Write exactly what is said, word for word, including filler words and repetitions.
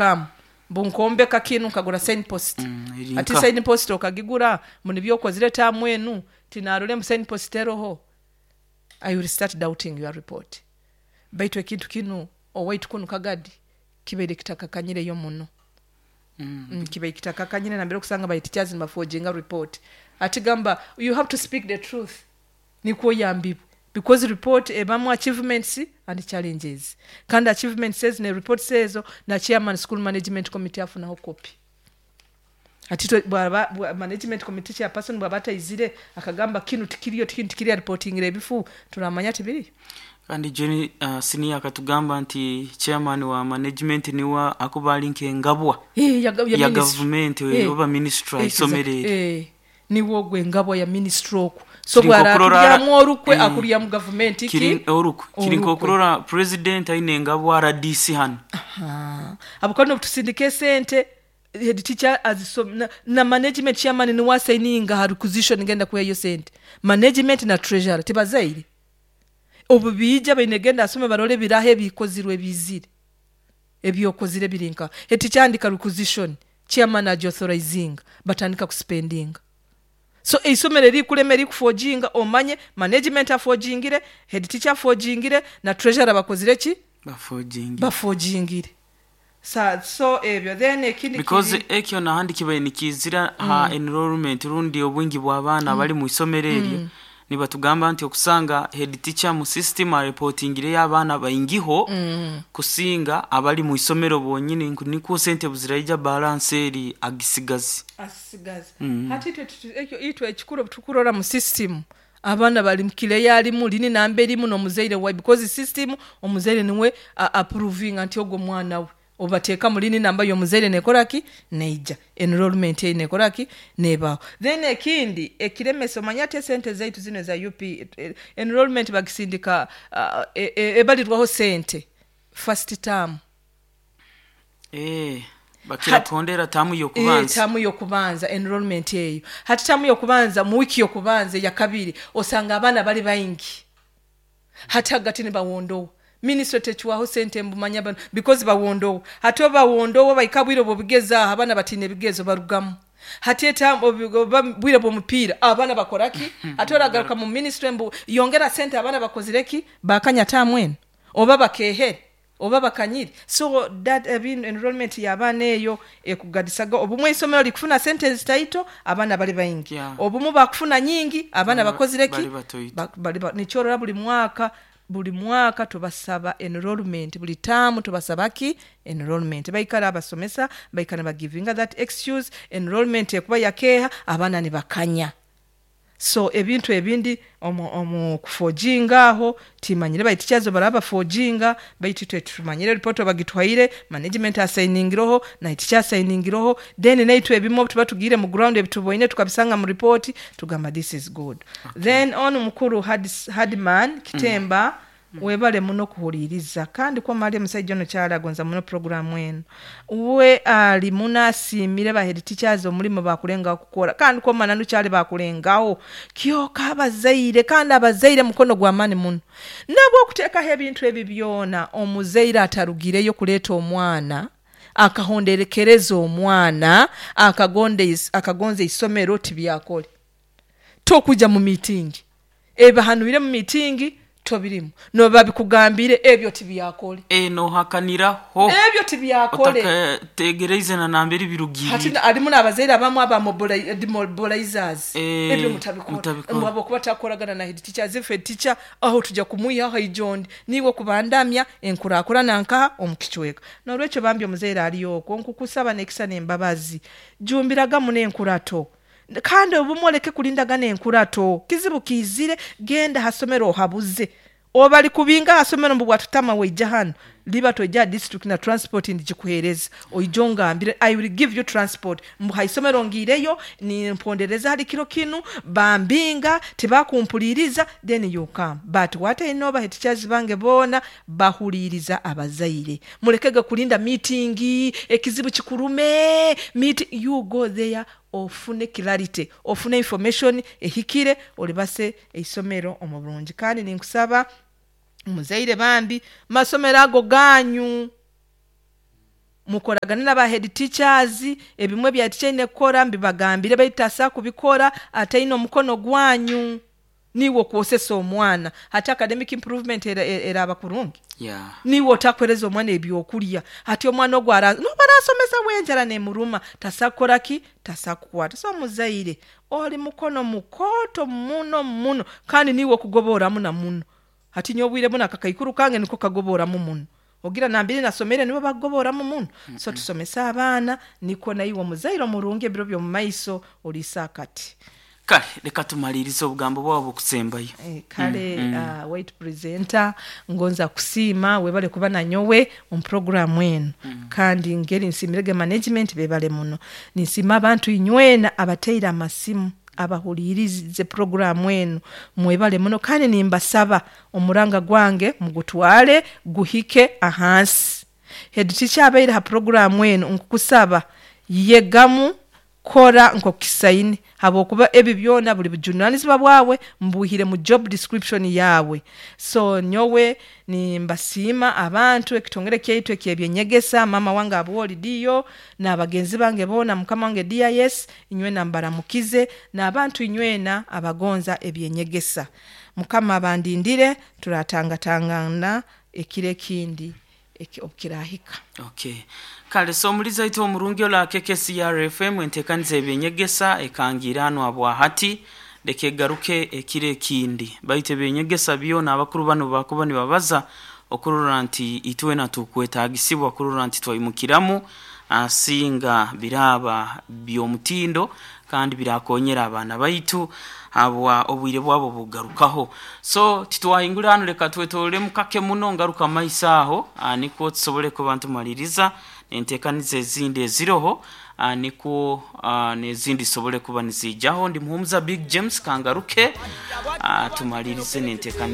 Come bunkombeka kinu, nkagura sign post. Mm, eri Ati nka. Sign post okagigura munibyokozire term enu, tinarole mu sign post eroho. I will start doubting your report. Baitu ekintu kinu owaitu kunu Kagadi kibaire kitakakanyireyo muno. Mm. Mm, kibaire kitakakanyire nambere okusanga ba teachers nibaforginga report. Ati gamba you have to speak the truth, nikwo yambibwe, because report ebamu achievements and challenges, kandi achievements ezo ne reports ezo na chairman school management committee afunaho copy. Ati twe- bwaba bwa- management committee chairperson bwaba ataizire akagamba kinu tikiriyo, kinu tikiriyo, reportingire ebifu, turamanya tibiriyo. Kandi Jenny, uh, senior akatugamba nti chairman wa management niwe akuba ali nk'engabwa Eh, ya, ya, ya ministry. Gavumenti Eh. oba ministry Eh, isomero eri. eh, niwo ogwo engabwa ya ministry okwo. So Kiri nk'okurora- bwarakulyamu orukwe, Eh. akulyamu gavumenti ki. Kiri orukwe kiri Orukwe. Nk'okurora president aine engabwa R D C hano. Aha. Abo kandi obutusindika esente, head teacher azisom na, na management chairman niwe asigninga ha requisition ngenda kuyayo sente, management na treasurer tibazaire. Obu biija baine genda asome barole biraho ebikozirwe bizire, ebyokozire birinka. Head teacher andika requisition, chairman agiauthorizinga, batandika kuspendinga. So eisomero erikulema erikuforginga, omanye management aforgingire, head teacher aforgingire na treasurer bakozire ki? Baforgingi. Baforgingire. Sa so ebyo. Then ekindi Because kiri- ekyo nahandi kibaire nikizira ha enrollment rundi obwingi bw'abaana abali mu isomero eryo. Nibatugamba nti okusanga head teacher mu system areportingireyo abaana baingiho kusinga abali mu isomero bonyini, nku nikwo sente buziraija balance eri agisigazi. Asigaze. Mm. Hati itwe tutu- ekyo itwe ekikuru tukurora mu system abaana bali mukile alimu lini namba erimu n'omuzaire wa, because system omuzaire niwe a- approvinga nti ogwo mwana we obateeka mulini namba y'omuzaire nekoraki, neija enrollment eyi nekoraki, nebaaho. Then ekindi ekiremesa, omanye ati esente zaitu zino eza U P eh, enrollment bagisindika, uh, e- e- ebalirwaho sente first term. Eh, bakira Hati- kuhondera term Eh, y'okubanza. Term y'okubanza, enrollment eyo. Hati term y'okubanza, mu wiiki y'okubanza eyakabiri, osanga abaana bali baingi, hati hagati nibawondowa. Ministry tekiwaho sente mbumanya bano because bawondowa. Hati obawondowa baika bwire bwobigezaaho, abaana batiina ebigezo, barugamu. Hati eta obi- oba bwire bw'omupiira, abaana bakoraki? Ate oragaruka mu ministry mbu yongera sente, abaana bakozireki? Bakanya term eno oba bakehere oba bakanyire. So that ebin enrollment y'abaana eyo ekugadisaga. Obumwe isomero likufuna sente zitaito, abaana bali baingi. Yeah. Obumu bakufuna nyingi, abaana Ba- bakozireki? Bali batoito. Ba- bali ba- nikyorora buli mwaka, buli mwaka tubasaba enrollment, buli term tubasaba ki? Enrollment. Baikara abasomesa baikara bagivinga that excuse, enrollment ekuba yakeha, abaana nibakanya. So ebintu ebindi omu, omu kuforginga aho timanyire baitu kyazo baraba baforginga, baitu twe tumanyire report bagitwaire, management assigningiroho na teacher assigningiroho. Then naitwe ebimu tuba tugire mu ground, ebituboine tukabisanga mu report, tugamba this is good, okay. Then on mukuru Hadman Kitemba, mm. webale muno kuhuliriza, kandi kwamali omusajja ono kyalagonza muno programu eno. We ali munasiimire ba head teachers omulimu bakulengaho kukora, kandi kwamana nukyali bakulengaho kyoka abazaire. Kandi abazaire mukono gw'amaani muno nabwo okuteekaho ebintu ebi byona. Omuzaire atarugireyo kuleeta omwana, akahonderekereza omwana, akagonda is- akagonza isomero, tibyakole. Tokujja mu meeting, ebahanwire mu meeting tobirimu, nobabikugambire, ebyo tibyakole. Eh, nohakaniraho. Ebyo tibyakole. Otakategereize na nambere Hati birugirire. na- alimu n'abazaire abamu aba mobili- demobilizers. Eh, ebyo mutabikora. Mutabikora. Habwokuba takoragana na head teacher, if head teacher aho tujja kumwihaho ijondi niwe kubandamya enkurakurana nkaha omukicweka. Nolwekyo bambi omuzaire ali okwo, nkukusaba nekisa n'embabazi, jumbiragamu n'enkurato, kandi obumu oleke kulindagana enkurato. Kizibu kiizire, genda hasomero ohabuze. Oba kubinga hasomero mbu bwatutama weija hano, liba tojja district na transport ndikikuheereza, oija ongambire, I will give you transport. Mbu haisomero ngiireyo nimpondereza hali kiro kinu bambinga tebakumpuliriza, then you come. But what I know, ba teachers bange boona bahuliriza abazaire. Mulekege kulinda meeting, ekizibu kikurume meet. You go there, ofune clarity, ofune information ehikire, olibase eisomero omu bulungi. Kandi ninkusaba muzaire bambi, masomero ago ganyu. Mukoragane n'aba head teachers. Ebimwe bya teacher ine kukora mbibagambire, baitu asa kubikora ataine omukono gwanyu. Niwe okwosesa omwana, hati academic improvement era- eraba kurungi? Yeah. Niwe otakwereza omwana ebyokurya, hati omwana ogwo ara- noba arasomesa wenjara nemuruma, tasakukora ki? Tasakukwata. So omuzaire oli mukono mukoto muno muno, kandi niwe okugoboramu na muno. Hati nyowe obwire buno akakaikuru kange niko kagoboramu muno, ogira nambiri nasomere nibo bakugoboramu muno. So tusomese abaana, nikwo naiwe omuzaire omurungi ebiro by'omu maiso oliisa akati. Kale reka tumalirize obugambo bwabo bukusembayo. Eh, kale mm, mm. Uh, wait, presenter, ngonza kusiima, webale kuba nanyowe omu programu eno mm. Kandi ngeri nsimirege management, bebale muno. Ninsiima abantu inywena abateire amasimu, abahulirize programu eno, mwebale muno. Kandi nimbasaba omuranga gwange mugutwale guhike ahansi. Head teacher abaire ha programu eno, nkukusaba yegamu, kora nkokisaine, habwokuba ebi byona buli bujunanizibwa bwawe, mbuhire mu job description yawe. So nyowe nimbasiima abantu, ekitongere kyaitu ekyebyenyegesa, mama wange abwoli diyo n'abagenzi bange boona, mukama wange D I S, inywena mbaramukize, n'abantu inywena abagonza ebyenyegesa. Mukama abandindire, turatangatangana ekiro ekindi eki- obukirahika. Okay, kale. So omuliza itu omurungi ola K K C R F M, entekaniza ebyenyegesa ekangira hano habwahati, leka egaruke ekiro ekindi. Baitu ebyenyegesa byona abakuru bano bakuba nibabaza okurora nti itwena tukwetagisibwa kurora nti twaimukiramu, asinga biraba by'omutindo kandi birakonyera abaana baitu habwa obwire bwabo bugarukaho. So titwahingura hano, leka twetololemu kake muno, ngaruka maiso aho, ah, nikwo tusobole kuba ntumaliriza entekaniza ezindi eziroho, ah, nikwo ah, n'ezindi zisobole kuba nizijaho. Ndi Muhumuza Big James, kangaruke ah, tumalirize n'entekaniza.